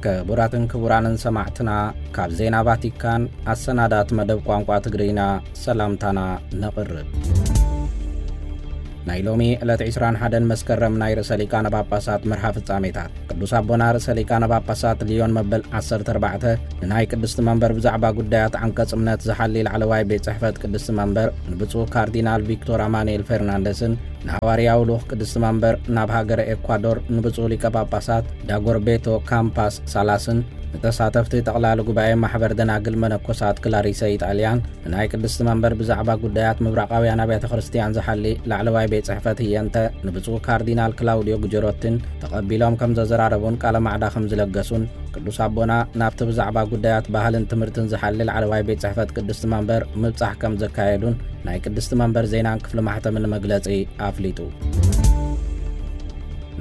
ክቡራትን ክቡራንን ሰማዕትና፣ ካብ ዜና ቫቲካን ኣሰናዳት መደብ ቋንቋ ትግርኛ ሰላምታና ነቕርብ። ናይ ሎሚ ዕለት ዕስራን ሓደን መስከረም ናይ ርእሰ ሊቃነ ጳጳሳት መርሃ ፍጻሜታት። ቅዱስ ኣቦና ርእሰ ሊቃነ ጳጳሳት ሊዮን መበል ዓሰርተ ኣርባዕተ ንናይ ቅድስቲ መንበር ብዛዕባ ጉዳያት ዓንቀጽ እምነት ዝሓሊ ላዕለዋይ ቤት ጽሕፈት ቅድስቲ መንበር ንብፁዕ ካርዲናል ቪክቶር ኣማኑኤል ፌርናንደስን ንሃዋርያዊ ልኡኽ ቅድስቲ መንበር ናብ ሃገረ ኤኳዶር ንብፁዕ ሊቀ ጳጳሳት ዳጎርቤቶ ካምፓስ ሳላስን ንተሳተፍቲ ጠቕላሊ ጉባኤ ማሕበር ደናግል መነኮሳት ክላሪሰ ኢጣልያን ንናይ ቅድስቲ መንበር ብዛዕባ ጉዳያት ምብራቓውያን ኣብያተ ክርስቲያን ዝሓሊ ላዕለዋይ ቤት ጽሕፈት ህየንተ ንብፁዕ ካርዲናል ክላውዲዮ ጉጀሮትን ተቐቢሎም ከም ዘዘራረቡን ቃለ ማዕዳ ከም ዝለገሱን ቅዱስ ኣቦና ናብቲ ብዛዕባ ጉዳያት ባህልን ትምህርትን ዝሓሊ ላዕለዋይ ቤት ጽሕፈት ቅድስቲ መንበር ምብጻሕ ከም ዘካየዱን ናይ ቅድስቲ መንበር ዜናን ክፍሊ ማሕተምን መግለጺ ኣፍሊጡ።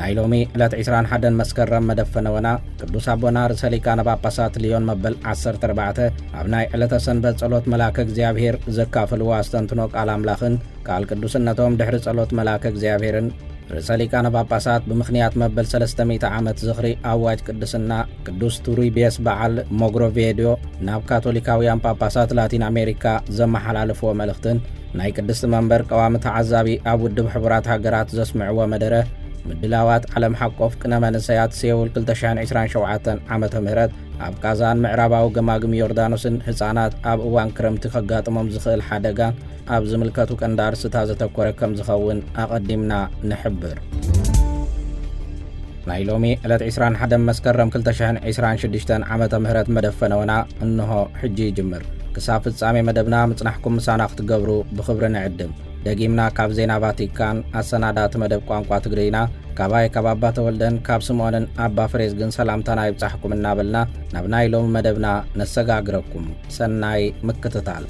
ናይ ሎሚ ዕለት ዕስራን ሓደን መስከረም መደብ ፈነወና ቅዱስ ኣቦና ርእሰ ሊቃነ ጳጳሳት ሊዮን መበል ዓሰርተ ኣርባዕተ ኣብ ናይ ዕለተ ሰንበት ጸሎት መልኣከ እግዚኣብሔር ዘካፈልዎ ኣስተንትኖ ቃል ኣምላኽን ቃል ቅዱስነቶም ድሕሪ ጸሎት መልኣከ እግዚኣብሔርን ርእሰ ሊቃነ ጳጳሳት ብምኽንያት መበል ሰለስተ ሚእቲ ዓመት ዝኽሪ ኣዋጅ ቅድስና ቅዱስ ቱሪቤስ በዓል ሞግሮቬድዮ ናብ ካቶሊካውያን ጳጳሳት ላቲን ኣሜሪካ ዘመሓላለፍዎ መልእኽትን ናይ ቅድስቲ መንበር ቀዋሚ ተዓዛቢ ኣብ ውድብ ሕቡራት ሃገራት ዘስምዕዎ መደረ ምድላዋት ዓለም ሓቆፍ ቅነ መንእሰያት ሴውል ክልተ ሽሕን ዕስራን ሸውዓተን ዓመተ ምህረት ኣብ ቃዛን ምዕራባዊ ገማግም ዮርዳኖስን ህጻናት ኣብ እዋን ክረምቲ ከጋጥሞም ዝኽእል ሓደጋን ኣብ ዝምልከቱ ቀንዲ ኣርእስታት ዘተኮረ ከም ዝኸውን ኣቐዲምና ንሕብር። ናይ ሎሚ ዕለት ዕስራን ሓደን መስከረም ክልተ ሽሕን ዕስራን ሽዱሽተን ዓመተ ምህረት መደብ ፈነወና እንሆ ሕጂ ይጅምር። ክሳብ ፍጻሜ መደብና ምጽናሕኩም ምሳና ክትገብሩ ብኽብሪ ንዕድም። ደጊምና ካብ ዜና ቫቲካን ኣሰናዳእቲ መደብ ቋንቋ ትግርይና ካባይ ካብ ኣባ ተወልደን ካብ ስምኦንን ኣባ ፍሬዝግን ሰላምታና ይብጻሕኩም እናበልና ናብ ናይ ሎሚ መደብና ነሰጋግረኩም። ሰናይ ምክትታል።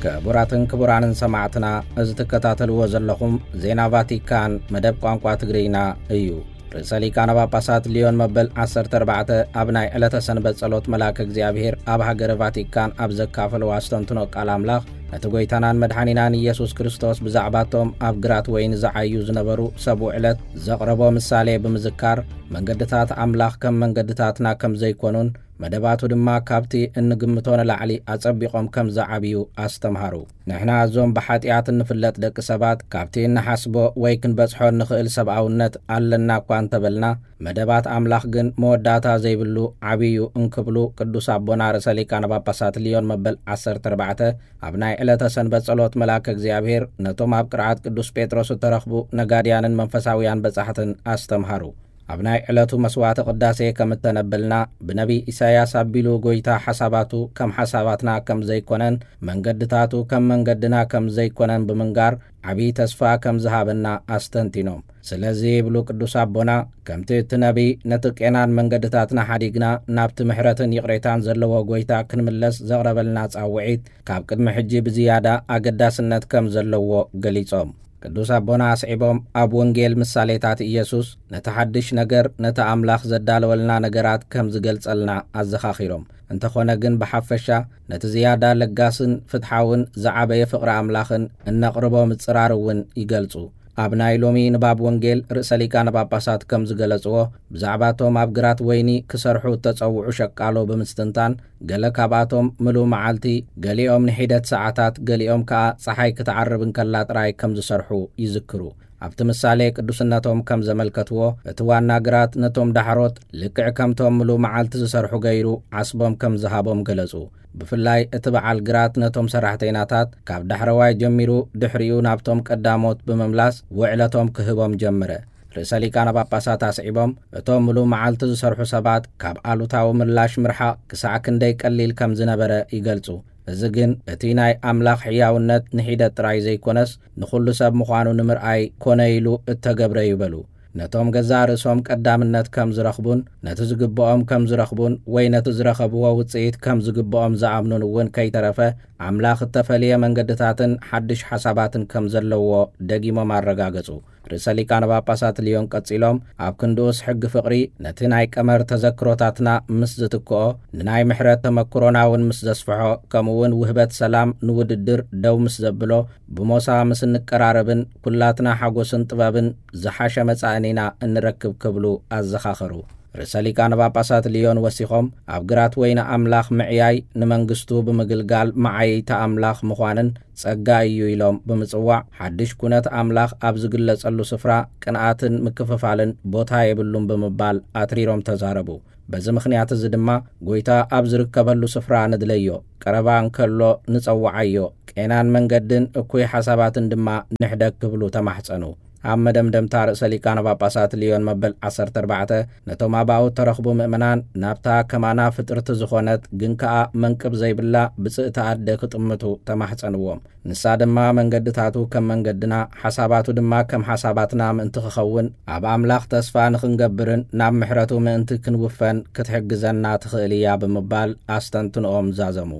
ክቡራትን ክቡራንን ሰማዕትና፣ እዚ ትከታተልዎ ዘለኹም ዜና ቫቲካን መደብ ቋንቋ ትግርይና እዩ። ርእሰ ሊቃነ ጳጳሳት ሊዮን መበል ዓሰርተ ኣርባዕተ ኣብ ናይ ዕለተ ሰንበት ጸሎት መልኣከ እግዚኣብሔር ኣብ ሃገረ ቫቲካን ኣብ ዘካፈለዎ ኣስተንትኖ ቃል ኣምላኽ፣ ነቲ ጐይታናን መድሓኒናን ኢየሱስ ክርስቶስ ብዛዕባቶም ኣብ ግራት ወይኒ ዝዓዩ ዝነበሩ ሰብ ውዕለት ዘቕረቦ ምሳሌ ብምዝካር፣ መንገድታት ኣምላኽ ከም መንገድታትና ከም ዘይኮኑን፣ መደባቱ ድማ ካብቲ እንግምቶ ንላዕሊ ኣጸቢቖም ከም ዝዓብዩ ኣስተምሃሩ። ንሕና እዞም ብሓጢኣት እንፍለጥ ደቂ ሰባት፣ ካብቲ እንሓስቦ ወይ ክንበጽሖ እንኽእል ሰብኣውነት ኣለና እኳ እንተበልና፣ መደባት ኣምላኽ ግን መወዳእታ ዘይብሉ ዓብዩ እንክብሉ ቅዱስ ኣቦና ርእሰ ሊቃነ ጳጳሳት ሊዮን መበል ዓሰርተ ኣርባዕተ ኣብ ናይ ዕለተ ሰንበት ጸሎት መልኣከ እግዚኣብሔር ነቶም ኣብ ቅርዓት ቅዱስ ጴጥሮስ እተረኽቡ ነጋድያንን መንፈሳውያን በጻሕትን ኣስተምሃሩ። ኣብ ናይ ዕለቱ መስዋዕተ ቅዳሴ ከም እተነበልና፣ ብነቢይ ኢሳይያስ ኣቢሉ ጐይታ ሓሳባቱ ከም ሓሳባትና ከም ዘይኮነን መንገድታቱ ከም መንገድና ከም ዘይኮነን ብምንጋር ዓብዪ ተስፋ ከም ዝሃበና ኣስተንቲኖም። ስለዚ ይብሉ ቅዱስ ኣቦና፣ ከምቲ እቲ ነቢይ ነቲ ቄናን መንገድታትና ሓዲግና ናብቲ ምሕረትን ይቕሬታን ዘለዎ ጐይታ ክንምለስ ዘቕረበልና ጻውዒት ካብ ቅድሚ ሕጂ ብዝያዳ ኣገዳስነት ከም ዘለዎ ገሊጾም። ቅዱስ ኣቦና ኣስዒቦም ኣብ ወንጌል ምሳሌታት ኢየሱስ ነቲ ሓድሽ ነገር ነቲ ኣምላኽ ዘዳለወልና ነገራት ከም ዝገልጸልና ኣዘኻኺሮም። እንተኾነ ግን ብሓፈሻ ነቲ ዝያዳ ለጋስን ፍትሓውን ዝዓበየ ፍቕሪ ኣምላኽን እነቕርቦ ምጽራር እውን ይገልጹ። ኣብ ናይ ሎሚ ንባብ ወንጌል ርእሰ ሊቃነ ጳጳሳት ከም ዝገለጽዎ፣ ብዛዕባቶም ኣብ ግራት ወይኒ ክሰርሑ እተጸውዑ ሸቃሎ ብምስትንታን፣ ገለ ካብኣቶም ምሉእ መዓልቲ፣ ገሊኦም ንሒደት ሰዓታት፣ ገሊኦም ከኣ ጸሓይ ክትዓርብ እንከላ ጥራይ ከም ዝሰርሑ ይዝክሩ። ኣብቲ ምሳሌ ቅዱስነቶም ከም ዘመልከትዎ፣ እቲ ዋና ግራት ነቶም ዳሕሮት ልክዕ ከምቶም ምሉእ መዓልቲ ዝሰርሑ ገይሩ ዓስቦም ከም ዝሃቦም ገለጹ። ብፍላይ እቲ በዓል ግራት ነቶም ሰራሕተይናታት ካብ ዳሕረዋይ ጀሚሩ ድሕሪኡ ናብቶም ቀዳሞት ብምምላስ ውዕለቶም ክህቦም ጀመረ። ርእሰ ሊቃነ ጳጳሳት ኣስዒቦም፣ እቶም ምሉእ መዓልቲ ዝሰርሑ ሰባት ካብ ኣሉታዊ ምላሽ ምርሓቕ ክሳዕ ክንደይ ቀሊል ከም ዝነበረ ይገልጹ። እዚ ግን እቲ ናይ ኣምላኽ ሕያውነት ንሒደት ጥራይ ዘይኮነስ ንኹሉ ሰብ ምዃኑ ንምርኣይ ኮነ ኢሉ እተገብረ እዩ በሉ። ነቶም ገዛእ ርእሶም ቀዳምነት ከም ዝረኽቡን ነቲ ዝግብኦም ከም ዝረኽቡን ወይ ነቲ ዝረኸብዎ ውጽኢት ከም ዝግብኦም ዝኣምኑን እውን ከይተረፈ ኣምላኽ እተፈልየ መንገድታትን ሓድሽ ሓሳባትን ከም ዘለዎ ደጊሞም ኣረጋገጹ። ርእሰ ሊቃነ ጳጳሳት ልዮን ቀጺሎም፣ ኣብ ክንድኡስ ሕጊ ፍቕሪ ነቲ ናይ ቀመር ተዘክሮታትና ምስ ዝትክኦ፣ ንናይ ምሕረት ተመክሮና እውን ምስ ዘስፍሖ፣ ከምኡውን ውህበት ሰላም ንውድድር ደው ምስ ዘብሎ፣ ብሞሳ ምስ እንቀራረብን ኩላትና ሓጎስን ጥበብን ዝሓሸ መጻኢ ኢና እንረክብ ክብሉ ኣዘኻኸሩ። ርእሰ ሊቃነ ጳጳሳት ሊዮን ወሲኾም፣ ኣብ ግራት ወይኒ ኣምላኽ ምዕያይ ንመንግስቱ ብምግልጋል መዓይይቲ ኣምላኽ ምዃንን ጸጋ እዩ ኢሎም ብምጽዋዕ፣ ሓድሽ ኩነት ኣምላኽ ኣብ ዝግለጸሉ ስፍራ ቅንኣትን ምክፍፋልን ቦታ የብሉን ብምባል ኣትሪሮም ተዛረቡ። በዚ ምኽንያት እዚ ድማ ጎይታ ኣብ ዝርከበሉ ስፍራ ንድለዮ፣ ቀረባ እንከሎ ንጸውዓዮ፣ ቄናን መንገድን እኩይ ሓሳባትን ድማ ንሕደግ ክብሉ ተማሕጸኑ። ኣብ መደምደምታ ርእሰ ሊቃነ ጳጳሳት ሊዮን መበል ዓሰርተ ኣርባዕተ ነቶም ኣባኡ ተረኽቡ ምእመናን ናብታ ከማና ፍጥርቲ ዝኾነት ግን ከኣ መንቅብ ዘይብላ ብጽእቲ ኣደ ክጥምቱ ተማሕጸንዎም። ንሳ ድማ መንገድታቱ ከም መንገድና፣ ሓሳባቱ ድማ ከም ሓሳባትና ምእንቲ ክኸውን፣ ኣብ ኣምላኽ ተስፋ ንኽንገብርን ናብ ምሕረቱ ምእንቲ ክንውፈን ክትሕግዘና ትኽእል እያ ብምባል ኣስተንትንኦም ዛዘሙ።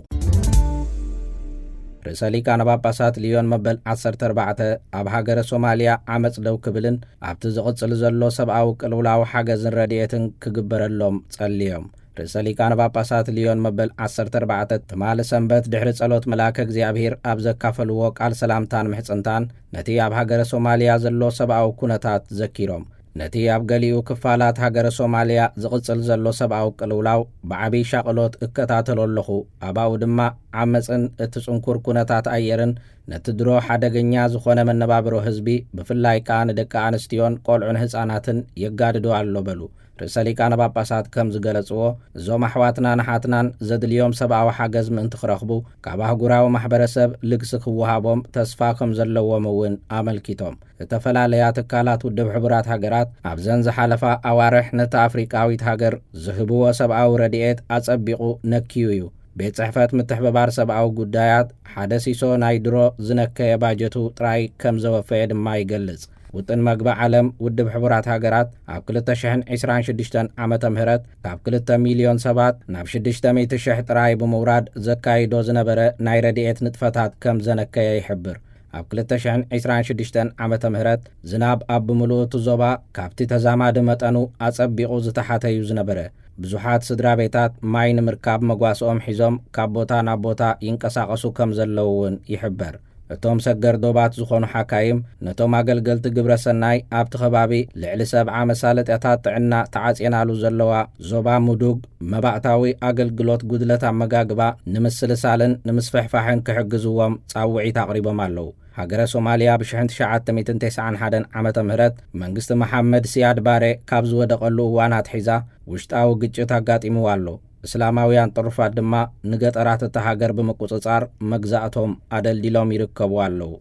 ርእሰ ሊቃነ ጳጳሳት ሊዮን መበል ዓሰርተ ኣርባዕተ ኣብ ሃገረ ሶማልያ ዓመጽ ደው ክብልን ኣብቲ ዝቕጽል ዘሎ ሰብኣዊ ቅልውላው ሓገዝን ረድኤትን ክግበረሎም ጸልዮም። ርእሰ ሊቃነ ጳጳሳት ሊዮን መበል ዓሰርተ ኣርባዕተ ትማሊ ሰንበት ድሕሪ ጸሎት መልኣከ እግዚኣብሔር ኣብ ዘካፈልዎ ቃል ሰላምታን ምሕጽንታን ነቲ ኣብ ሃገረ ሶማልያ ዘሎ ሰብኣዊ ኩነታት ዘኪሮም። ነቲ ኣብ ገሊኡ ክፋላት ሃገረ ሶማልያ ዝቕጽል ዘሎ ሰብኣዊ ቅልውላው ብዓብዪ ሻቕሎት እከታተሎ ኣለኹ። ኣባኡ ድማ ዓመጽን እቲ ጽንኩር ኩነታት ኣየርን ነቲ ድሮ ሓደገኛ ዝኾነ መነባብሮ ህዝቢ፣ ብፍላይ ከኣ ንደቂ ኣንስትዮን ቆልዑን ህጻናትን የጋድዶ ኣሎ በሉ። ርእሰ ሊቃነ ጳጳሳት ከም ዝገለጽዎ፣ እዞም ኣሕዋትና ንሓትናን ዘድልዮም ሰብኣዊ ሓገዝ ምእንቲ ክረኽቡ፣ ካብ ኣህጉራዊ ማሕበረሰብ ልግሲ ክወሃቦም ተስፋ ከም ዘለዎም እውን ኣመልኪቶም። ዝተፈላለያ ትካላት ውድብ ሕቡራት ሃገራት ኣብዘን ዝሓለፋ ኣዋርሕ ነታ ኣፍሪቃዊት ሃገር ዝህብዎ ሰብኣዊ ረድኤት ኣጸቢቑ ነክዩ እዩ። ቤት ጽሕፈት ምትሕብባር ሰብኣዊ ጉዳያት ሓደ ሲሶ ናይ ድሮ ዝነከየ ባጀቱ ጥራይ ከም ዘወፈየ ድማ ይገልጽ። ውጥን መግቢ ዓለም ውድብ ሕቡራት ሃገራት ኣብ ክልተ ሽሕን ዕስራን ሽዱሽተን ዓመተ ምህረት ካብ ክልተ ሚልዮን ሰባት ናብ ሽዱሽተ ሚእቲ ሽሕ ጥራይ ብምውራድ ዘካይዶ ዝነበረ ናይ ረድኤት ንጥፈታት ከም ዘነከየ ይሕብር። ኣብ ክልተ ሽሕን ዕስራን ሽዱሽተን ዓመተ ምህረት ዝናብ ኣብ ብምሉኡ እቲ ዞባ ካብቲ ተዛማዲ መጠኑ ኣጸቢቑ ዝተሓተ እዩ ዝነበረ። ብዙሓት ስድራ ቤታት ማይ ንምርካብ መጓስኦም ሒዞም ካብ ቦታ ናብ ቦታ ይንቀሳቐሱ ከም ዘለዉ እውን ይሕበር። እቶም ሰገር ዶባት ዝኾኑ ሓካይም ነቶም ኣገልገልቲ ግብረ ሰናይ ኣብቲ ከባቢ ልዕሊ ሰብዓ መሳለጥያታት ጥዕና ተዓጽየናሉ ዘለዋ ዞባ ሙዱግ መባእታዊ ኣገልግሎት ጉድለት ኣመጋግባ ንምስልሳልን ንምስፍሕፋሕን ክሕግዝዎም ጻውዒት ኣቕሪቦም ኣለዉ። ሃገረ ሶማልያ ብ ሽሕን ትሽዓተ ሚእትን ተስዓን ሓደን ዓመተ ምህረት መንግስቲ መሓመድ ሲያድ ባሬ ካብ ዝወደቐሉ እዋን ኣትሒዛ ውሽጣዊ ግጭት ኣጋጢምዋ ኣሎ። እስላማውያን ጥሩፋት ድማ ንገጠራት እታ ሃገር ብምቁጽጻር መግዛእቶም ኣደልዲሎም ይርከቡ ኣለዉ።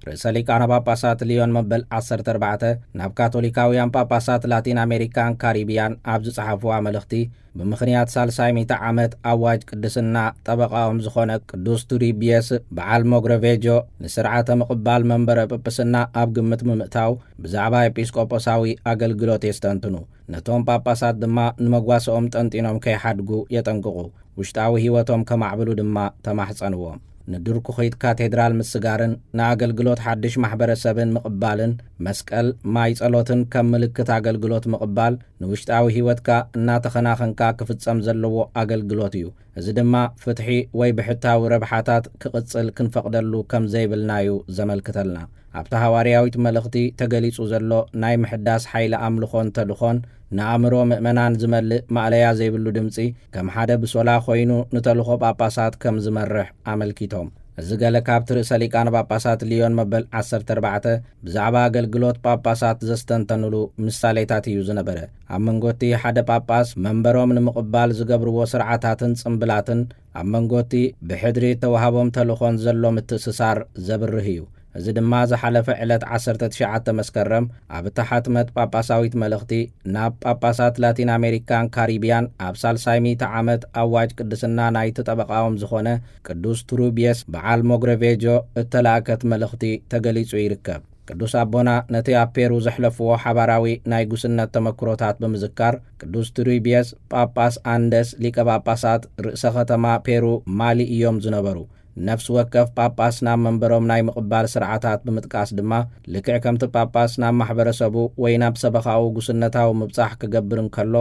ርእሰ ሊቃነ ጳጳሳት ሊዮን መበል ዓሰርተ ኣርባዕተ ናብ ካቶሊካውያን ጳጳሳት ላቲን ኣሜሪካን ካሪቢያን ኣብ ዝጸሓፍዋ መልእኽቲ፣ ብምኽንያት ሳልሳይ ሚእቲ ዓመት ኣዋጅ ቅድስና ጠበቃኦም ዝኾነ ቅዱስ ቱሪቢየስ በዓል ሞግረቬጆ ንስርዓተ ምቕባል መንበረ ጵጵስና ኣብ ግምት ብምእታው ብዛዕባ ኤጲስቆጶሳዊ ኣገልግሎት የስተንትኑ። ነቶም ጳጳሳት ድማ ንመጓሰኦም ጠንጢኖም ከይሓድጉ የጠንቅቑ። ውሽጣዊ ህይወቶም ከማዕብሉ ድማ ተማሕጸንዎም። ንድርኩኺት ካቴድራል ምስጋርን ንኣገልግሎት ሓድሽ ማሕበረሰብን ምቕባልን፣ መስቀል፣ ማይ ጸሎትን ከም ምልክት ኣገልግሎት ምቕባል ንውሽጣዊ ህይወትካ እናተኸናኸንካ ክፍጸም ዘለዎ ኣገልግሎት እዩ። እዚ ድማ ፍትሒ ወይ ብሕታዊ ረብሓታት ክቕጽል ክንፈቕደሉ ከም ዘይብልና እዩ ዘመልክተልና። ኣብታ ሃዋርያዊት መልእኽቲ ተገሊጹ ዘሎ ናይ ምሕዳስ ሓይሊ ኣምልኾን ተልኾን ንኣእምሮ ምእመናን ዝመልእ ማእለያ ዘይብሉ ድምጺ ከም ሓደ ብሶላ ኮይኑ ንተልኾ ጳጳሳት ከም ዝመርሕ ኣመልኪቶም። እዚ ገለ ካብቲ ርእሰ ሊቃነ ጳጳሳት ሊዮን መበል ዓሰርተ ኣርባዕተ ብዛዕባ ኣገልግሎት ጳጳሳት ዘስተንተኑሉ ምሳሌታት እዩ ዝነበረ። ኣብ መንጎቲ ሓደ ጳጳስ መንበሮም ንምቕባል ዝገብርዎ ስርዓታትን ጽምብላትን፣ ኣብ መንጎቲ ብሕድሪ እተዋህቦም ተልኾን ዘሎ ምትእስሳር ዘብርህ እዩ። እዚ ድማ ዝሓለፈ ዕለት ዓሰርተ ትሽዓተ መስከረም ኣብ እተሓትመት ጳጳሳዊት መልእኽቲ ናብ ጳጳሳት ላቲን ኣሜሪካን ካሪቢያን ኣብ ሳልሳይ ሚእቲ ዓመት ኣዋጅ ቅድስና ናይቲ ጠበቃኦም ዝኾነ ቅዱስ ቱሩቢየስ በዓል ሞግረቬጆ እተላእከት መልእኽቲ ተገሊጹ ይርከብ። ቅዱስ ኣቦና ነቲ ኣብ ፔሩ ዘሕለፍዎ ሓባራዊ ናይ ጉስነት ተመክሮታት ብምዝካር፣ ቅዱስ ቱሪቢየስ ጳጳስ ኣንደስ ሊቀ ጳጳሳት ርእሰ ከተማ ፔሩ ማሊ እዮም ዝነበሩ። ነፍሲ ወከፍ ጳጳስ ናብ መንበሮም ናይ ምቕባል ስርዓታት ብምጥቃስ ድማ፣ ልክዕ ከምቲ ጳጳስ ናብ ማሕበረሰቡ ወይ ናብ ሰበኻኡ ጉስነታዊ ምብጻሕ ክገብር እንከሎ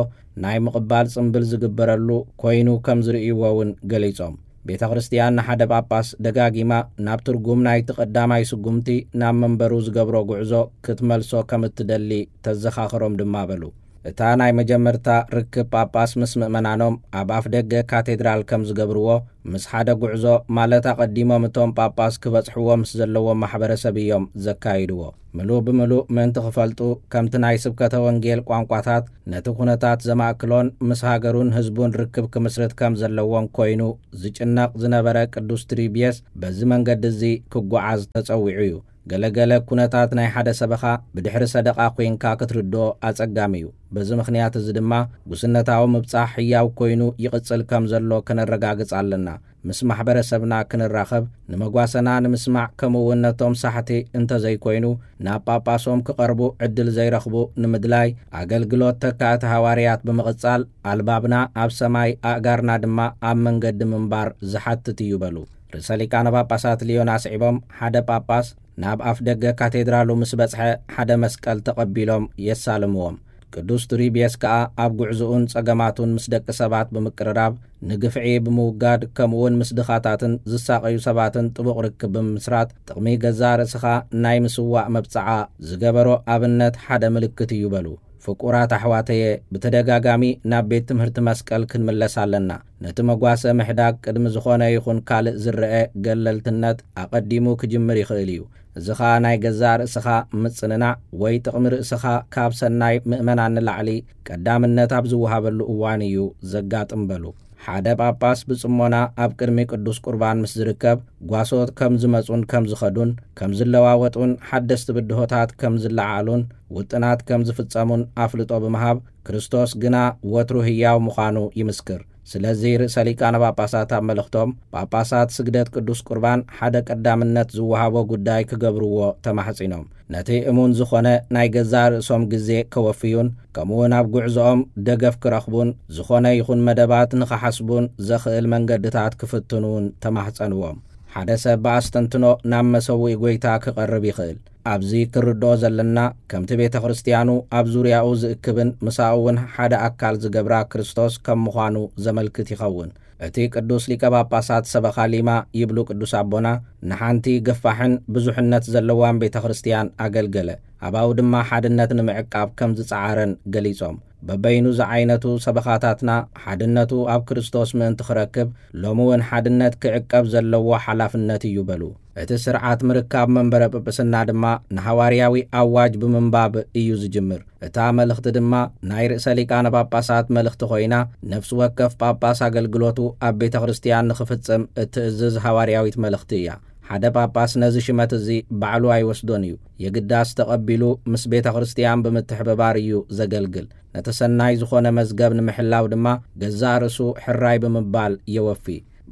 ናይ ምቕባል ጽምብል ዝግበረሉ ኮይኑ ከም ዝርእይዎ እውን ገሊጾም። ቤተ ክርስቲያን ንሓደ ጳጳስ ደጋጊማ ናብ ትርጉም ናይቲ ቀዳማይ ስጉምቲ ናብ መንበሩ ዝገብሮ ጉዕዞ ክትመልሶ ከም እትደሊ ተዘኻኽሮም ድማ በሉ። እታ ናይ መጀመርታ ርክብ ጳጳስ ምስ ምእመናኖም ኣብ ኣፍ ደገ ካቴድራል ከም ዝገብርዎ፣ ምስ ሓደ ጉዕዞ፣ ማለት ኣቐዲሞም እቶም ጳጳስ ክበጽሕዎ ምስ ዘለዎም ማሕበረሰብ እዮም ዘካይድዎ። ምሉእ ብምሉእ ምእንቲ ክፈልጡ፣ ከምቲ ናይ ስብከተ ወንጌል ቋንቋታት ነቲ ኩነታት ዘማእክሎን ምስ ሃገሩን ህዝቡን ርክብ ክምስርት ከም ዘለዎን ኮይኑ ዝጭነቕ ዝነበረ ቅዱስ ትሪቢየስ በዚ መንገዲ እዚ ክጓዓዝ ተጸዊዑ እዩ። ገለገለ ኩነታት ናይ ሓደ ሰበኻ ብድሕሪ ሰደቓ ኮይንካ ክትርድኦ ኣጸጋሚ እዩ። በዚ ምኽንያት እዚ ድማ፣ ጉስነታዊ ምብጻሕ ህያው ኮይኑ ይቕጽል ከም ዘሎ ከነረጋግጽ ኣለና። ምስ ማሕበረሰብና ክንራኸብ፣ ንመጓሰና ንምስማዕ፣ ከምኡ እውን ነቶም ሳሕቲ እንተዘይኮይኑ ናብ ጳጳሶም ክቐርቡ ዕድል ዘይረኽቡ ንምድላይ፣ ኣገልግሎት ተካእቲ ሃዋርያት ብምቕጻል፣ ኣልባብና ኣብ ሰማይ፣ ኣእጋርና ድማ ኣብ መንገዲ ምንባር ዝሓትት እዩ በሉ። ርእሰ ሊቃነ ጳጳሳት ሊዮን ኣስዒቦም፣ ሓደ ጳጳስ ናብ ኣፍ ደገ ካቴድራሉ ምስ በጽሐ፣ ሓደ መስቀል ተቐቢሎም የሳልምዎም። ቅዱስ ቱሪቢየስ ከኣ ኣብ ጉዕዞኡን ጸገማቱን ምስ ደቂ ሰባት ብምቅርራብ፣ ንግፍዒ ብምውጋድ፣ ከምኡውን ምስ ድኻታትን ዝሳቐዩ ሰባትን ጥቡቕ ርክብ ብምምስራት፣ ጥቕሚ ገዛእ ርእስኻ ናይ ምስዋእ መብጽዓ ዝገበሮ ኣብነት ሓደ ምልክት እዩ በሉ። ፍቁራት ኣሕዋተየ፣ ብተደጋጋሚ ናብ ቤት ትምህርቲ መስቀል ክንምለስ ኣለና። ነቲ መጓሰ ምሕዳግ ቅድሚ ዝኾነ ይኹን ካልእ ዝረአ ገለልትነት ኣቐዲሙ ክጅምር ይኽእል እዩ። እዚ ኸኣ ናይ ገዛእ ርእስኻ ምጽንናዕ ወይ ጥቕሚ ርእስኻ ካብ ሰናይ ምእመናን ንላዕሊ ቀዳምነት ኣብ ዝወሃበሉ እዋን እዩ ዘጋጥም በሉ። ሓደ ጳጳስ ብጽሞና ኣብ ቅድሚ ቅዱስ ቁርባን ምስ ዝርከብ፣ ጓሶት ከም ዝመጹን ከም ዝኸዱን፣ ከም ዝለዋወጡን ሓደስቲ ብድሆታት ከም ዝለዓሉን ውጥናት ከም ዝፍጸሙን ኣፍልጦ ብምሃብ፣ ክርስቶስ ግና ወትሩ ህያው ምዃኑ ይምስክር። ስለዚ ርእሰ ሊቃነ ጳጳሳት ኣብ መልእኽቶም፣ ጳጳሳት ስግደት ቅዱስ ቁርባን ሓደ ቀዳምነት ዝወሃቦ ጉዳይ ክገብርዎ ተማሕጺኖም። ነቲ እሙን ዝኾነ ናይ ገዛእ ርእሶም ግዜ ከወፍዩን፣ ከምኡውን ኣብ ጉዕዞኦም ደገፍ ክረኽቡን፣ ዝኾነ ይኹን መደባት ንኽሓስቡን ዘኽእል መንገድታት ክፍትኑን ተማሕጸንዎም። ሓደ ሰብ ብኣስተንትኖ ናብ መሰውኢ ጐይታ ክቐርብ ይኽእል። ኣብዚ ክርድኦ ዘለና፣ ከምቲ ቤተ ክርስቲያኑ ኣብ ዙርያኡ ዝእክብን ምሳኡ እውን ሓደ ኣካል ዝገብራ ክርስቶስ ከም ምዃኑ ዘመልክት ይኸውን። እቲ ቅዱስ ሊቀ ጳጳሳት ሰበኻ ሊማ ይብሉ ቅዱስ ኣቦና፣ ንሓንቲ ገፋሕን ብዙሕነት ዘለዋን ቤተ ክርስቲያን ኣገልገለ። ኣባኡ ድማ ሓድነት ንምዕቃብ ከም ዝጸዓረን ገሊጾም፣ በበይኑ ዝዓይነቱ ሰበኻታትና ሓድነቱ ኣብ ክርስቶስ ምእንቲ ክረክብ፣ ሎሚ እውን ሓድነት ክዕቀብ ዘለዎ ሓላፍነት እዩ በሉ። እቲ ስርዓት ምርካብ መንበረ ጵጵስና ድማ ንሃዋርያዊ ኣዋጅ ብምንባብ እዩ ዝጅምር። እታ መልእኽቲ ድማ ናይ ርእሰ ሊቃነ ጳጳሳት መልእኽቲ ኮይና፣ ነፍሲ ወከፍ ጳጳስ ኣገልግሎቱ ኣብ ቤተ ክርስቲያን ንኽፍጽም እትእዝዝ ሃዋርያዊት መልእኽቲ እያ። ሓደ ጳጳስ ነዚ ሽመት እዚ ባዕሉ ኣይወስዶን እዩ። የግዳስ ተቐቢሉ ምስ ቤተ ክርስቲያን ብምትሕብባር እዩ ዘገልግል። ነቲ ሰናይ ዝኾነ መዝገብ ንምሕላው ድማ ገዛእ ርእሱ ሕራይ ብምባል የወፊ።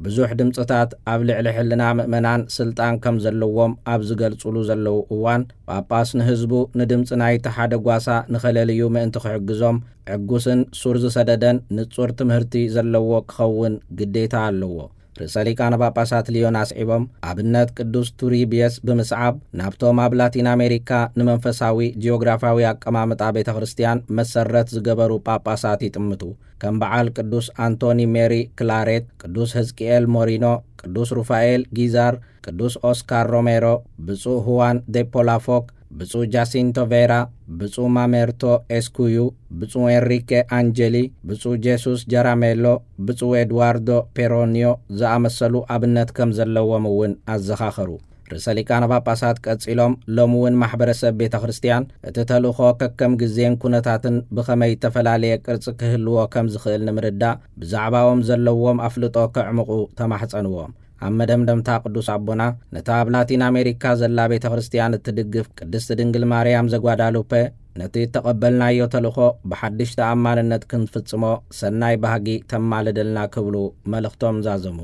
ብዙሕ ድምጽታት ኣብ ልዕሊ ሕልና ምእመናን ስልጣን ከም ዘለዎም ኣብ ዝገልጹሉ ዘለዉ እዋን፣ ጳጳስ ንህዝቡ ንድምጺ ናይቲ ሓደ ጓሳ ንኸለልዩ ምእንቲ ክሕግዞም፣ ዕጉስን ሱር ዝሰደደን ንጹር ትምህርቲ ዘለዎ ክኸውን ግዴታ ኣለዎ። ርእሰ ሊቃነ ጳጳሳት ሊዮን ኣስዒቦም፣ ኣብነት ቅዱስ ቱሪቢየስ ብምስዓብ፣ ናብቶም ኣብ ላቲን ኣሜሪካ ንመንፈሳዊ ጂኦግራፍያዊ ኣቀማምጣ ቤተ ክርስቲያን መሰረት ዝገበሩ ጳጳሳት ይጥምቱ። ከም በዓል ቅዱስ ኣንቶኒ ሜሪ ክላሬት፣ ቅዱስ ሕዝቅኤል ሞሪኖ፣ ቅዱስ ሩፋኤል ጊዛር፣ ቅዱስ ኦስካር ሮሜሮ፣ ብፁዕ ሁዋን ዴፖላፎክ፣ ብፁዕ ጃሲንቶ ቬራ፣ ብፁዕ ማሜርቶ ኤስኩዩ፣ ብፁዕ ኤንሪኬ ኣንጀሊ፣ ብፁዕ ጄሱስ ጀራሜሎ፣ ብፁዕ ኤድዋርዶ ፔሮኒዮ ዝኣመሰሉ ኣብነት ከም ዘለዎም እውን ኣዘኻኸሩ። ርእሰ ሊቃነ ጳጳሳት ቀጺሎም፣ ሎሚ እውን ማሕበረሰብ ቤተ ክርስቲያን እቲ ተልእኾ ከከም ግዜን ኩነታትን ብኸመይ እተፈላለየ ቅርጺ ክህልዎ ከም ዝኽእል ንምርዳእ፣ ብዛዕባኦም ዘለዎም ኣፍልጦ ከዕምቑ ተማሕጸንዎም። ኣብ መደምደምታ ቅዱስ ኣቦና፣ ነታ ኣብ ላቲን ኣሜሪካ ዘላ ቤተ ክርስቲያን እትድግፍ ቅድስቲ ድንግል ማርያም ዘጓዳሉፐ፣ ነቲ እተቐበልናዮ ተልእኾ ብሓድሽ ተኣማንነት ክንፍጽሞ ሰናይ ባህጊ ተማልደልና ክብሉ መልእኽቶም ዛዘሙ።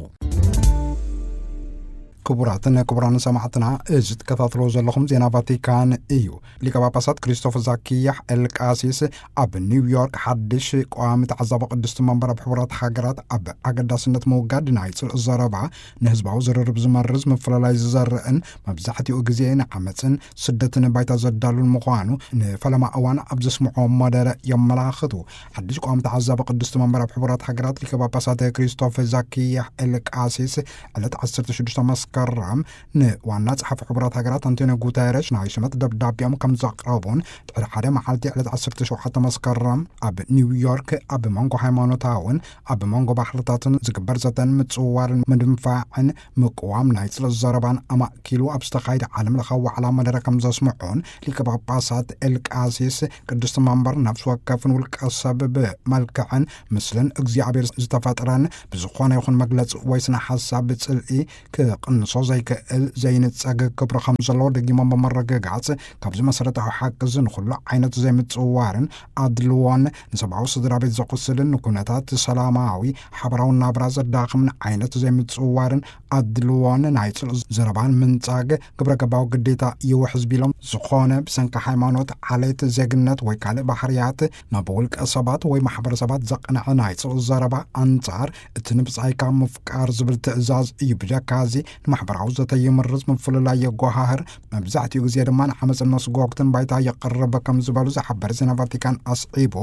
ክቡራትን ክቡራን ሰማዕትና፣ እዚ ትከታተልዎ ዘለኹም ዜና ቫቲካን እዩ። ሊቀ ጳጳሳት ክሪስቶፈር ዛኪያሕ ኤልቃሲስ ኣብ ኒውዮርክ ሓድሽ ቀዋሚ ተዓዛቢ ቅድስቲ መንበር ኣብ ሕቡራት ሃገራት ኣብ ኣገዳስነት ምውጋድ ናይ ጽልኢ ዘረባ ንህዝባዊ ዝርርብ ዝመርዝ፣ ምፍልላይ ዝዘርእን መብዛሕትኡ ግዜ ንዓመጽን ስደትን ባይታ ዘዳሉን ምዃኑ ንፈለማ እዋን ኣብ ዘስምዖ መደረ የመላኽቱ። ሓድሽ ቀዋሚ ተዓዛቢ ቅድስቲ መንበር ኣብ ሕቡራት ሃገራት ሊቀ ጳጳሳት ክሪስቶፈር ዛኪያሕ ኤልቃሲስ ዕለት ዓሰርተ ሽዱሽተ መስከረም ንዋና ጸሓፊ ሕቡራት ሃገራት ኣንቶኒዮ ጉተረሽ ናይ ሽመት ደብዳቤኦም ከም ዘቕረቡን ድሕሪ ሓደ መዓልቲ ዕለት ዓሰርተ ሸውዓተ መስከረም ኣብ ኒውዮርክ ኣብ መንጎ ሃይማኖታውን ኣብ መንጎ ባህልታትን ዝግበር ዘተን ምጽውዋርን ምድንፋዕን ምቅዋም ናይ ጽልኢ ዘረባን ኣማእኪሉ ኣብ ዝተኻየደ ዓለም ለኻዊ ዋዕላ መደረ ከም ዘስምዑን ሊቀ ጳጳሳት ኤልቃሲስ ቅድስቲ መንበር ነፍሲ ወከፍን ውልቀ ሰብ ብመልክዕን ምስልን እግዚኣብሔር ዝተፈጥረን ብዝኾነ ይኹን መግለጺ ወይ ስነ ሓሳብ ጽልኢ ክቕንሶ ዘይክእል ዘይንጸግ ክብሪ ከም ዘለዎ ደጊሞም ብምርግጋጽ፣ ካብዚ መሰረታዊ ሓቂ እዚ ንኹሉ ዓይነት ዘይምጽውዋርን ኣድልዎን ንሰብኣዊ ስድራ ቤት ዘቑስልን ንኩነታት ሰላማዊ ሓበራዊ ናብራ ዘዳኽምን ዓይነት ዘይምጽውዋርን ኣድልዎን ናይ ጽልኢ ዘረባን ምንጻግ ግብረ ገባዊ ግዴታ ይውሕዝ ቢሎም፣ ዝኾነ ብሰንኪ ሃይማኖት፣ ዓሌት፣ ዜግነት ወይ ካልእ ባህርያት ናብ ውልቀ ሰባት ወይ ማሕበረሰባት ዘቕንዐ ናይ ጽልኢ ዘረባ ኣንጻር እቲ ንብጻይካ ምፍቃር ዝብል ትእዛዝ እዩ። ብጀካ እዚ ንማሕበራዊ ዘተ ይምርዝ፣ ምፍልላይ የጓሃህር፣ መብዛሕትኡ ግዜ ድማ ንዓመፅን መስጎግትን ባይታ የቕርብ ከም ዝበሉ ዝሓበር ዜና ቫቲካን ኣስዒቡ፣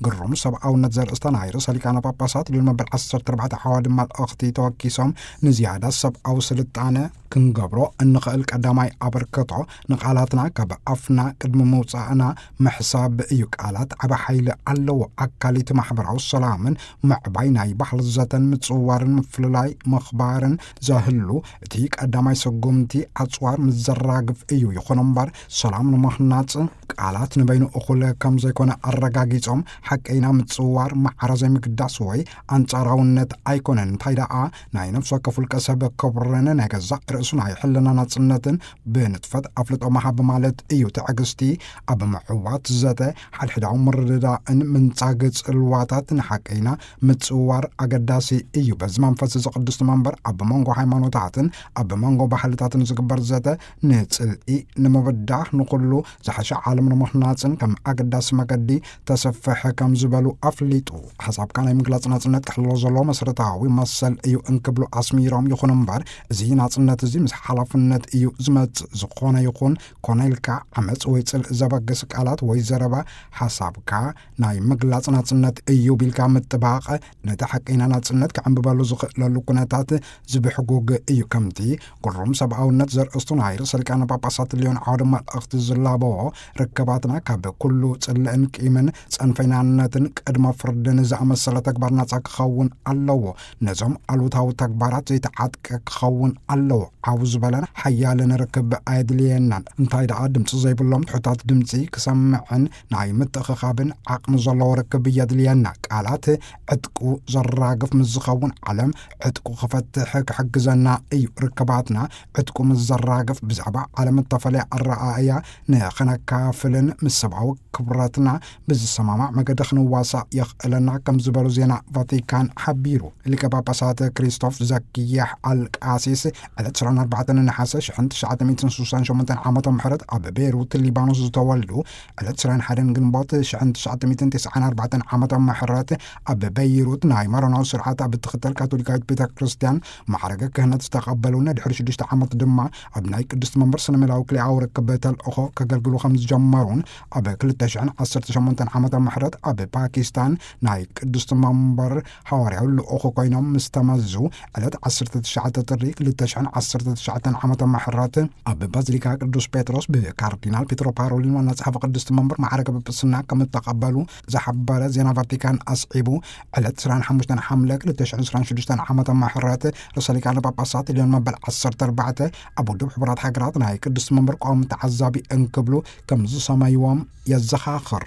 ግሩም ሰብኣውነት ዘርእስታ ናይ ርእሰ ሊቃነ ጳጳሳት ልዑል መበል ዓሰርተ ኣርባዕተ ዓዋዲ መልእኽቲ ተወኪሶም፣ ንዝያዳ ሰብኣዊ ስልጣነ ክንገብሮ እንኽእል ቀዳማይ ኣበርክቶ ንቓላትና ካብ ኣፍና ቅድሚ ምውጻእና ምሕሳብ እዩ። ቃላት ዓቢ ሓይሊ ኣለዎ። ኣካሊት ማሕበራዊ ሰላምን ምዕባይ ናይ ባህሊ ዘተን ምጽውዋርን ምፍልላይ ምኽባርን ዘህሉ እቲ ቀዳማይ ስጉምቲ ኣጽዋር ምስ ዘራግፍ እዩ። ይኹን እምበር ሰላም ንምኽናጽ ቃላት ንበይኑ እኹል ከም ዘይኮነ ኣረጋጊጾም፣ ሓቀይና ምጽውዋር ማዕረ ዘይምግዳስ ወይ ኣንጻራውነት ኣይኮነን። እንታይ ደኣ ናይ ነፍሲ ወከፍ ውልቀ ሰብ ክብርን ናይ ገዛእ ርእሱ ናይ ሕልና ናጽነትን ብንጥፈት ኣፍልጦ ምሃብ ማለት እዩ። ትዕግስቲ ኣብ ምዕዋት ዘተ ሓድሕዳዊ ምርድዳእን ምንጻግ ጽልዋታት ንሓቀይና ምጽውዋር ኣገዳሲ እዩ። በዚ መንፈስ እዚ ቅድስቲ መንበር ኣብ መንጎ ሃይማኖታትን ኣብ መንጎ ባህልታትን ዝግበር ዘተ ንጽልኢ ንምብዳህ ንኹሉ ዝሓሸ ዓለም ንምኽናጽን ከም ኣገዳሲ መገዲ ተሰፍሕ ከም ዝበሉ ኣፍሊጡ። ሓሳብካ ናይ ምግላጽ ናጽነት ክሕሎ ዘለዎ መሰረታዊ መሰል እዩ እንክብሉ ኣስሚሮም፣ ይኹን እምበር እዚ ናጽነት እዚ ምስ ሓላፍነት እዩ ዝመጽእ። ዝኾነ ይኹን ኮነ ኢልካ ዓመጽ ወይ ጽልኢ ዘበግስ ቃላት ወይ ዘረባ ሓሳብካ ናይ ምግላጽ ናጽነት እዩ ቢልካ ምጥባቕ ነቲ ሓቀይና ናጽነት ክዕንብበሉ ዝኽእለሉ ኩነታት ዝብሕጉግ እዩ። ከምቲ ግሩም ሰብኣውነት ዘርእስቱ ናይ ርእሰ ሊቃነ ጳጳሳት ልዮን ዓውደ መልእኽቲ ዝላበዎ፣ ርክባትና ካብ ኩሉ ጽልእን ቂምን ጸንፈይናነትን ቅድመ ፍርድን ዝኣመሰለ ተግባር ናጻ ክኸውን ኣለዎ። ነዞም ኣሉታዊ ተግባራት ዘይተዓጥቀ ክኸውን ኣለዎ። ዓው ዝበለን ሓያልን ርክብ ኣየድልየናን። እንታይ ደኣ ድምጺ ዘይብሎም ትሑታት ድምጺ ክሰምዕን ናይ ምትእኽኻብን ዓቕሚ ዘለዎ ርክብ የድልየና። ቃላት ዕጥቁ ዘራግፍ ምስ ዝኸውን ዓለም ዕጥቁ ክፈትሕ ክሕግዘና እዩ። ርክባትና ዕጥቁ ምስ ዘራግፍ ብዛዕባ ዓለም እተፈለየ ኣረኣእያ ንኸነካፍልን ምስ ሰብኣዊ ክብረትና ብዝሰማማዕ መገዲ ክንዋሳእ የኽእለና ከም ዝበሉ ዜና ቫቲካን ሓቢሩ። ሊቀ ጳጳሳት ክሪስቶፍ ዘኪያሕ ኣልቃሲስ ዕለት ዕስራን ኣርባዕተን ነሓሰ ሽሕን ትሽዓተ ሚእትን ስሳን ሸሞንተን ዓመተ ምሕረት ኣብ ቤይሩት ሊባኖስ ዝተወልዱ፣ ዕለት ዕስራን ሓደን ግንቦት ሽሕን ትሽዓተ ሚእትን ተስዓን ኣርባዕተን ዓመተ ምሕረት ኣብ ቤይሩት ናይ ማሮናዊ ስርዓት ኣብ እትኽተል ካቶሊካዊት ቤተ ክርስቲያን ማዕረገ ክህነት ዝተቐበሉን ድሕሪ ሽዱሽተ ዓመት ድማ ኣብ ናይ ቅድስቲ መንበር ስነ ሜላዊ ክልኤኣዊ ርክብ ተልእኾ ከገልግሉ ከም ዝጀመሩን ኣብ ክልተ ሽሕን ዓሰርተ ሸሞንተን ዓመተ ምሕረት ኣብ ፓኪስታን ናይ ቅድስቲ መንበር ሃዋርያዊ ልኡኽ ኮይኖም ምስ ተመዙ ዕለት ዓሰርተ ትሽዓተ ጥሪ ክልተ ሽሕን ዓሰርተ ትሽዓተን ዓመተ ምሕረት ኣብ ባዚሊካ ቅዱስ ጴጥሮስ ብካርዲናል ፔትሮ ፓሮሊን ዋና ጸሓፊ ቅድስቲ መንበር ማዕረገ ጵጵስና ከም እተቐበሉ ዝሓበረ ዜና ቫቲካን ኣስዒቡ፣ ዕለት ዕስራን ሓሙሽተን ሓምለ ክልተ ሽሕን ዕስራን ሽዱሽተን ዓመተ ምሕረት ርእሰ ሊቃነ ጳጳሳት ልዮን መበል ዓሰርተ ኣርባዕተ ኣብ ውድብ ሕቡራት ሃገራት ናይ ቅድስቲ መንበር ቀዋሚ ተዓዛቢ እንክብሉ ከም ዝሰመይዎም የዘኻኽር።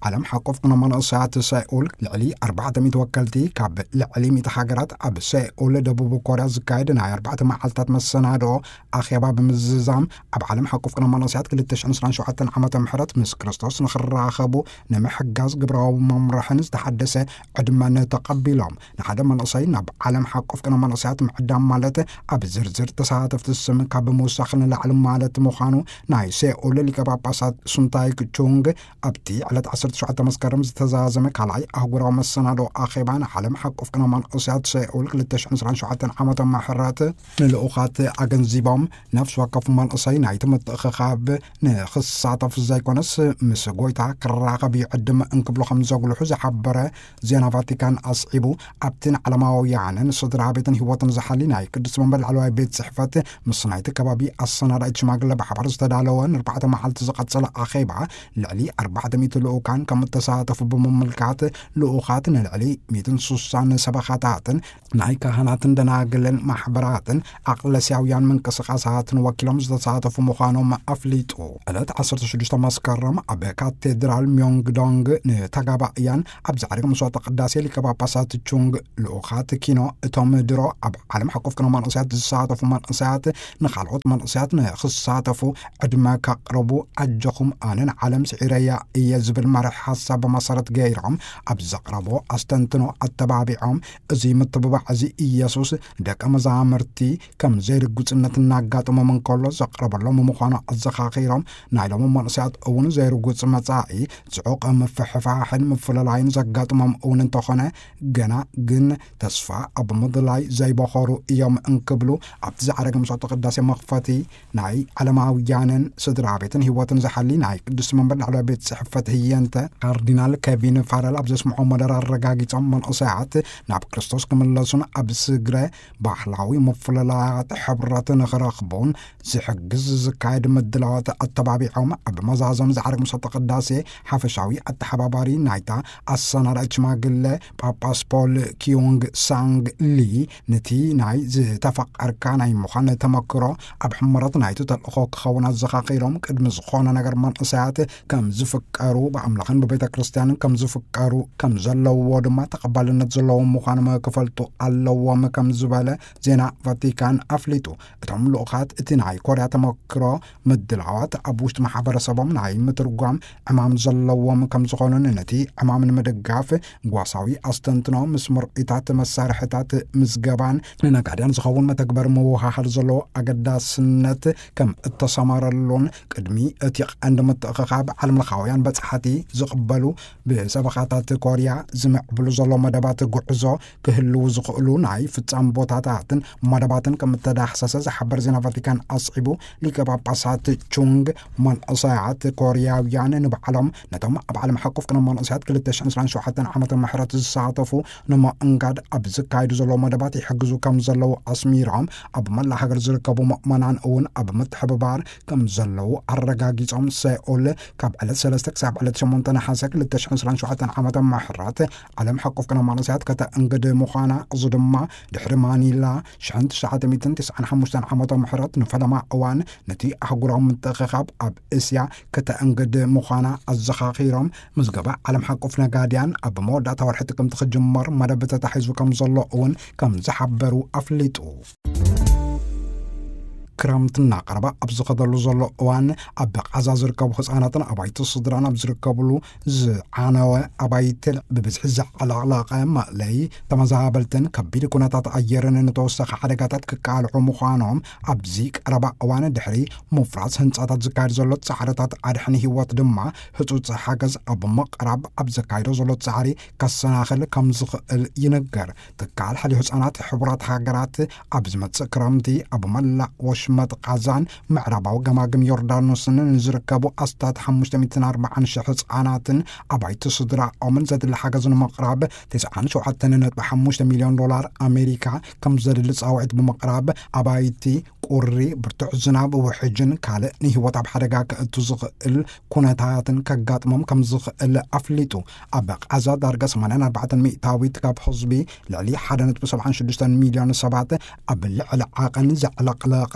ዓለም ሓቆፍ ቅነ መንእሰያት ሰኡል ልዕሊ ኣርባዕተ ሚእቲ ወከልቲ ካብ ልዕሊ ሚእቲ ሃገራት ኣብ ሰኡል ደቡብ ኮርያ ዝካየድ ናይ ኣርባዕተ መዓልታት መሰናድኦ ኣኼባ ብምዝዛም፣ ኣብ ዓለም ሓቆፍ ቅነ መንእሰያት ክልተ ሽሕን ዕስራን ሸውዓተን ዓመተ ምሕረት ምስ ክርስቶስ ንኽራኸቡ ንምሕጋዝ ግብራዊ መምርሕን ዝተሓደሰ ዕድመን ተቐቢሎም። ንሓደ መንእሰይ ናብ ዓለም ሓቆፍ ቅነ መንእሰያት ምዕዳም ማለት ኣብ ዝርዝር ተሳተፍቲ ስም ካብ ምውሳኽ ንላዕሊ ማለት ምዃኑ ናይ ሰኡል ሊቀ ጳጳሳት ሱንታይክ ቹንግ ኣብቲ ዕለት ዓሰርተ ሸውዓተ መስከረም ዝተዛዘመ ካልኣይ ኣህጉራዊ መሰናዶ ኣኼባ ንዓለም ሓቆፍ ቅነ መንእሰያት ሰኡል ክልተ ሽሕን ዕስራን ሸውዓተን ዓመተ ምሕረት ንልኡኻት ኣገንዚቦም፣ ነፍሲ ወከፍ መንእሰይ ናይቲ ምትእኽኻብ ንኽሳተፍ ዘይኮነስ ምስ ጎይታ ክራኸብ ይዕድም እንክብሉ ከም ዘጉልሑ ዝሓበረ ዜና ቫቲካን ኣስዒቡ፣ ኣብቲ ንዓለማውያንን ስድራ ቤትን ህይወትን ዝሓሊ ናይ ቅዱስ መንበር ላዕለዋይ ቤት ጽሕፈት ምስ ናይቲ ከባቢ ኣሰናዳኢት ሽማግለ ብሓባር ዝተዳለወ ንኣርባዕተ መዓልቲ ዝቐጸለ ኣኼባ፣ ልዕሊ ኣርባዕተ ሚእቲ ልኡካን ከም እተሳተፉ ብምምልካት፣ ልኡኻት ንልዕሊ ሚእትን ስሳን ሰበኻታትን ናይ ካህናትን ደናግልን ማሕበራትን ኣቕለስያውያን ምንቅስቓሳትን ወኪሎም ዝተሳተፉ ምዃኖም ኣፍሊጡ። ዕለት ዓሰርተ ሽዱሽተ መስከረም ኣብ ካቴድራል ሚዮንግዶንግ ንተጋባእያን ኣብ ዛዕሪ መስዋዕተ ቅዳሴ ሊቀ ጳጳሳት ቹንግ ልኡኻት ኪኖ እቶም ድሮ ኣብ ዓለም ሓቆፍ ቅነ መንእሰያት ዝሳተፉ መንእሰያት ንኻልኦት መንእሰያት ንኽሳተፉ ዕድመ ከቕርቡ ኣጆኹም ኣነ ንዓለም ስዒረያ እየ ዝብል መርሒ ሓሳብ መሰረት ገይሮም ኣብ ዘቕረቦ ኣስተንትኖ ኣተባቢዖም፣ እዚ ምትብባዕ እዚ ኢየሱስ ደቀ መዛሙርቲ ከም ዘይርጉጽነት እናጋጠሞም እንከሎ ዘቕረበሎም ምዃኑ ኣዘኻኺሮም፣ ናይ ሎሚ መንእሰያት እውን ዘይርጉጽ መጻኢ፣ ጽዑቕ ምፍሕፋሕን ምፍልላይን ዘጋጥሞም እውን እንተኾነ፣ ገና ግን ተስፋ ኣብ ምድላይ ዘይበኸሩ እዮም እንክብሉ ኣብቲ ዝዓረገ መስዋዕተ ቅዳሴ መኽፈቲ ናይ ዓለማውያንን ስድራ ቤትን ህይወትን ዝሓሊ ናይ ቅዱስ መንበር ላዕለዋይ ቤት ጽሕፈት ህየንተ ካርዲናል ኬቪን ፋረል ኣብ ዘስምዖ መደረ ኣረጋጊጾም፣ መንእሰያት ናብ ክርስቶስ ክምለሱን ኣብ ስግረ ባህላዊ ምፍልላያት ሕብረት ንኽረኽቡን ዝሕግዝ ዝካየድ ምድላዋት ኣተባቢዖም፣ ኣብ መዛዘም ዝዓረግ መስዋዕተ ቅዳሴ ሓፈሻዊ ኣተሓባባሪ ናይታ ኣሰናዳኢት ሽማግለ ጳጳስ ፖል ኪዩንግ ሳንግ ሊ፣ ነቲ ናይ ዝተፈቀርካ ናይ ምዃን ተመክሮ ኣብ ሕመረት ናይቲ ተልእኾ ክኸውን ኣዘኻኺሮም፣ ቅድሚ ዝኾነ ነገር መንእሰያት ከም ዝፍቀሩ ብኣምላኽን ብቤተ ክርስቲያንን ከም ዝፍቀሩ ከም ዘለዎ ድማ ተቐባልነት ዘለዎም ምዃኖም ክፈልጡ ኣለዎም ከም ዝበለ ዜና ቫቲካን ኣፍሊጡ። እቶም ልኡኻት እቲ ናይ ኮርያ ተመክሮ ምድላዋት ኣብ ውሽጢ ማሕበረሰቦም ናይ ምትርጓም ዕማም ዘለዎም ከም ዝኾኑን ነቲ ዕማም ንምድጋፍ ጓሳዊ ኣስተንትኖ ምስ ምርኢታት መሳርሕታት ምዝገባን ንነጋድያን ዝኸውን መተግበር ምውሃሃድ ዘለዎ ኣገዳስነት ከም እተሰማረሉን ቅድሚ እቲ ቀንዲ ምትእኽኻብ ዓለምለኻውያን በጻሕቲ ዝቕበሉ ብሰበኻታት ኮርያ ዝምዕብሉ ዘሎ መደባት ጉዕዞ ክህልዉ ዝኽእሉ ናይ ፍጻም ቦታታትን መደባትን ከም እተዳህሰሰ ዝሓበር ዜና ቫቲካን ኣስዒቡ፣ ሊቀ ጳጳሳት ቹንግ መንእሰያት ኮርያውያን ንባዕሎም ነቶም ኣብ ዓለም ሓቆፍ ቅነ መንእሰያት ክልተ ሽሕን ዕስራን ሸውዓተን ዓመተ ምሕረት ዝሳተፉ ንምእንጋድ ኣብ ዝካየዱ ዘለዉ መደባት ይሕግዙ ከም ዘለዉ ኣስሚሮም፣ ኣብ መላእ ሃገር ዝርከቡ ምእመናን እውን ኣብ ምትሕብባር ከም ዘለዉ ኣረጋጊጾም፣ ሰኡል ካብ ዕለት ሰለስተ ክሳብ ዕለት ሸሞንተ ነሓሰ ክልተ ሽሕን ዕስራን ሸውዓተን ዓመተ ምሕረት ዓለም ሓቆፍ ቅነ መንእሰያት ከተእንግድ ምዃና፣ እዚ ድማ ድሕሪ ማኒላ ሽሕን ትሽዓተ ሚእትን ትስዓን ሓሙሽተን ዓመተ ምሕረት ንፈለማ እዋን ነቲ ኣህጉራዊ ምትእኽኻብ ኣብ እስያ ከተእንግድ ምዃና ኣዘኻኺሮም፣ ምዝገባ ዓለም ሓቆፍ ነጋድያን ኣብ መወዳእታ ወርሒ ጥቅምቲ ክጅመር መደብ ተታሒዙ ከም ዘሎ እውን ከም ዝሓበሩ ኣፍሊጡ። ክረምቲ እናቐረበ ኣብ ዝኸደሉ ዘሎ እዋን፣ ኣብ ቃዛ ዝርከቡ ህጻናትን ኣባይቲ ስድራን ኣብ ዝርከብሉ ዝዓነወ ኣባይቲ ብብዝሒ ዘዕለቕለቐ መእለዪ ተመዛበልትን ከቢድ ኩነታት ኣየርን ንተወሳኺ ሓደጋታት ክቃልዑ ምዃኖም ኣብዚ ቀረባ እዋን ድሕሪ ምፍራስ ህንጻታት ዝካየድ ዘሎ ጻዕርታት ኣድሕን ህይወት ድማ ህጹጽ ሓገዝ ኣብ ምቕራብ ኣብ ዘካይዶ ዘሎ ጻዕሪ ከሰናኽል ከም ዝኽእል ይንገር። ትካል ሓልዮ ህጻናት ሕቡራት ሃገራት ኣብ ዝመጽእ ክረምቲ ኣብ መላእ ወሽመጥ ቃዛን ምዕራባዊ ገማግም ዮርዳኖስን ንዝርከቡ ኣስታት ሓሙሽተ ሚእትን ኣርባዓን ሽሕ ህጻናትን ኣባይቲ ስድራኦምን ዘድሊ ሓገዝ ንምቕራብ ተስዓን ሸውዓተን ነጥቢ ሓሙሽተ ሚልዮን ዶላር ኣሜሪካ ከም ዘድሊ ጻውዒት ብምቕራብ፣ ኣባይቲ ቁሪ፣ ብርቱዕ ዝናብ፣ ውሕጅን ካልእ ንህይወት ኣብ ሓደጋ ከእቱ ዝኽእል ኩነታትን ከጋጥሞም ከም ዝኽእል ኣፍሊጡ። ኣብ ቃዛ ዳርጋ ሰማንያን ኣርባዕተን ሚእታዊት ካብ ህዝቢ፣ ልዕሊ ሓደ ነጥቢ ሰብዓን ሽዱሽተን ሚልዮን ሰባት፣ ኣብ ልዕሊ ዓቐን ዘዕለቕለቐ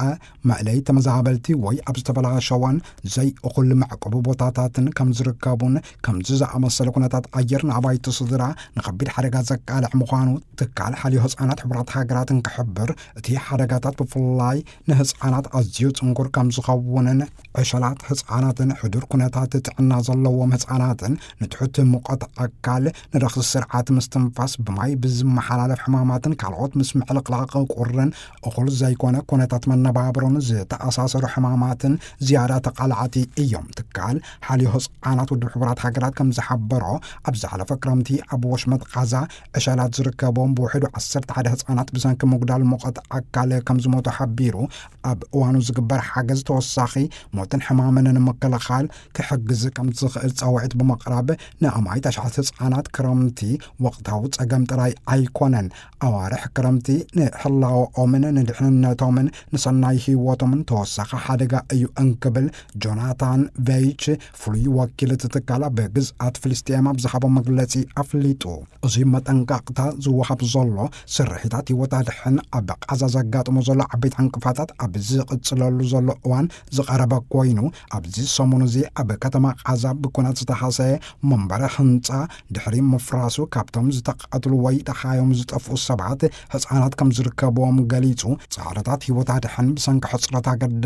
መእለይ ተመዛበልቲ ወይ ኣብ ዝተበላሸወን ዘይእኹል መዕቆቢ ቦታታትን ከም ዝርከቡን፣ ከምዚ ዝኣመሰለ ኩነታት ኣየር ንኣባይቲ ስድራ ንኸቢድ ሓደጋ ዘቃልዕ ምዃኑ ትካል ሓልዮ ህጻናት ሕቡራት ሃገራት እንክሕብር፣ እቲ ሓደጋታት ብፍላይ ንህጻናት ኣዝዩ ጽንኩር ከም ዝኸውንን፣ ዕሸላት ህጻናትን ሕዱር ኩነታት ጥዕና ዘለዎም ህጻናትን ንትሑት ሙቐት ኣካል፣ ንረኽሲ ስርዓት ምስትንፋስ፣ ብማይ ብዝመሓላለፍ ሕማማትን ካልኦት ምስ ምዕልቕላቕ ቁርን እኹል ዘይኮነ ኩነታት መነባብሮን ዝተኣሳሰሩ ሕማማትን ዝያዳ ተቓላዕቲ እዮም። ትካል ሓልዮ ህጻናት ውድብ ሕቡራት ሃገራት ከም ዝሓበሮ፣ ኣብ ዝሓለፈ ክረምቲ ኣብ ወሽመጥ ቃዛ ዕሸላት ዝርከቦም ብውሕዱ ዓሰርተ ሓደ ህጻናት ብሰንኪ ምጉዳል ሙቐት ኣካል ከም ዝሞቱ ሓቢሩ፣ ኣብ እዋኑ ዝግበር ሓገዝ ተወሳኺ ሞትን ሕማምን ንምክልኻል ክሕግዝ ከም ዝኽእል ጻውዒት ብምቕራብ፣ ንኣማኢት ኣሽሓት ህጻናት ክረምቲ ወቕታዊ ጸገም ጥራይ ኣይኮነን፣ ኣዋርሕ ክረምቲ ንህላወኦምን ንድሕንነቶምን ንሰናይ ህይወቶምን ተወሳኺ ሓደጋ እዩ እንክብል ጆናታን ቬይች፣ ፍሉይ ወኪል እቲ ትካል ኣብ ግዝኣት ፍልስጤም ኣብ ዝሃቦ መግለጺ ኣፍሊጡ። እዚ መጠንቀቕታ ዝወሃብ ዘሎ ስርሒታት ህይወት ኣድሕን ኣብ ቃዛ ዘጋጥሞ ዘሎ ዓበይቲ ዕንቅፋታት ኣብ ዝቕጽለሉ ዘሎ እዋን ዝቐረበ ኮይኑ፣ ኣብዚ ሰሙን እዚ ኣብ ከተማ ቃዛ ብኩናት ዝተሃሰየ መንበሪ ህንጻ ድሕሪ ምፍራሱ፣ ካብቶም ዝተቃተሉ ወይ ደሃዮም ዝጠፍኡ ሰባት ህጻናት ከም ዝርከብዎም ገሊጹ። ጻዕርታት ህይወት ኣድሕን ብሰንኪ ሕጽረት ኣገዳሲ